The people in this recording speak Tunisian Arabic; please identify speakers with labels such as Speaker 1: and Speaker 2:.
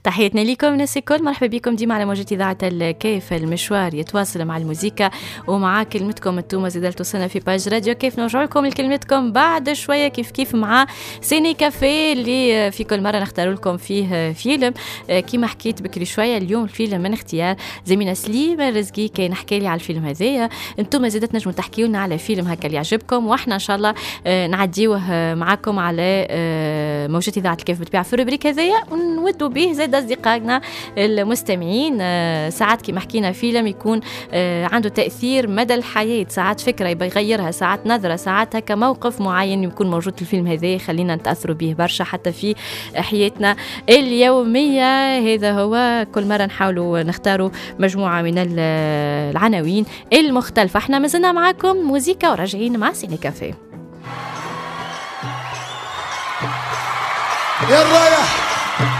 Speaker 1: تحياتنا لكم الناس الكل، مرحبا بكم ديما على موجة إذاعة الكيف. المشوار يتواصل مع الموسيقى ومع كلمتكم انتوما زادة توصلنا في page راديو كيف. نرجع لكم لكلمتكم بعد شوية كيف كيف مع Ciné Café اللي في كل مرة نختار لكم فيه فيلم. كيما حكيت بكري شوية، اليوم الفيلم من اختيار زميلنا سليم الرزقي، كان حكى لي على الفيلم هذايا. انتوما زادة تنجموا تحكيوا لنا على فيلم هكا اللي يعجبكم، واحنا ان شاء الله نعديوه معاكم على موجة إذاعة الكيف بالطبيعة في ال rubrique هذايا، ونودوا به زاد أصدقائنا المستمعين. ساعات كما حكينا فيلم يكون عنده تأثير مدى الحياة، ساعات فكرة يبغى يغيرها، ساعات نظرة، ساعات هكا موقف معين يكون موجود في الفيلم هذا يخلينا نتأثروا به برشا حتى في حياتنا اليومية. هذا هو، كل مرة نحاولوا نختاروا مجموعة من العناوين المختلفة. احنا مازلنا معاكم موزيكا وراجعين مع Ciné Café.
Speaker 2: يا الرايح